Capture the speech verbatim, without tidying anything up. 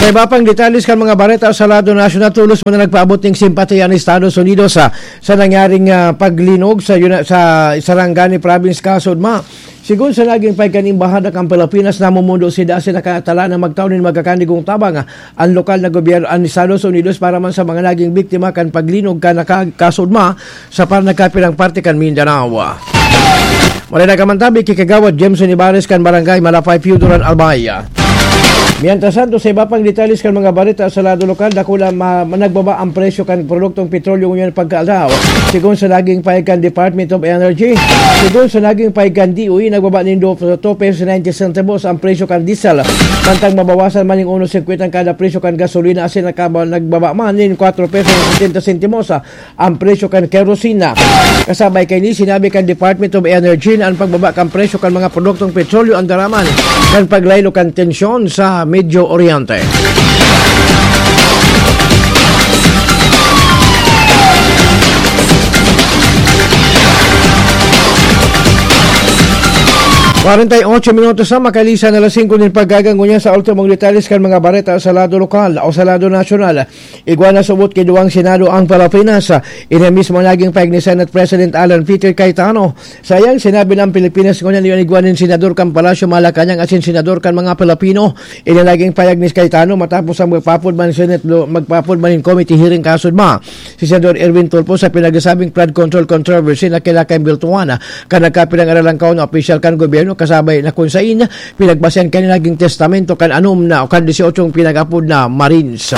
Sa iba pang detalles kan mga bareta sa lado nasyonal, tolos man na nagpaabot ning simpatiya ang Estados Unidos sa, sa nangyaring, ah, paglinog sa Yuna-, sa Sarangani Province, Kasudma. Sigon sa naging pahayag kan Embahada kan Pilipinas, namumundo sinda asin nakatala na magtao nin magkakanigong tabang ang lokal na gobyerno, ang Estados Unidos, para man sa mga naging biktima kan paglinog kan naka-, Kasudma sa par-, nagkapirang parte kan Mindanao. Maray na kamantabi ki Kagawad Jameson Ibares kan Barangay Malapay, Pio Duran, Albay. Mientras tanto, sa iba pang detalles kan mga bareta sa lado lokal, dakula ma-, nagbaba ang presyo kan produktong petrolyo ngunyan pagkaaldaw. Sigon sa naging pahayag kan Department of Energy, sigon sa naging pahayag kan D O E, nagbaba nin do-, two pesos ninety centavos ang presyo kan diesel. Mantang mabawasan man ning uno singkwenta ang kada presyo kan gasolina asin nakaba-, nagbaba man nin kwatro pesos setenta sentimos ang presyo kan kerosina. Kasabay kaini, sinabi kan Department of Energy na ang pagbaba kan presyo kan mga produktong petrolyo ang daraman kan paglaylo kan tensyon sa Medio Oriente. Kwarenta y ocho minutos na makalisan na alas singko nin pagkaga, ngunyan sa ultimong detalles kan mga bareta sa lado lokal o sa lado nasyonal. Igwa na subot ki duwang Senado ang Pilipinas. Ini mismo naging pahayag ni Senate President Alan Peter Cayetano. Sa iyang sinabi na ang Pilipinas ngunyan igwa nin senador kan Palasyo Malacañang asin senador kan mga Pilipino. Ini naging pahayag ni Cayetano matapos ang magpapod man Senate lo-, magpapod man in committee hearing kasudma si Senador Erwin Tulfo sa pinagsasabing flood control controversy na kailangan biltuhan kan nagkapirang aralangkaw na opisyal kan gobyerno, kasabay na kung sain pinagbasehan kan naging testamento kan anom na o kan disyotsyong pinag-apod na Marines.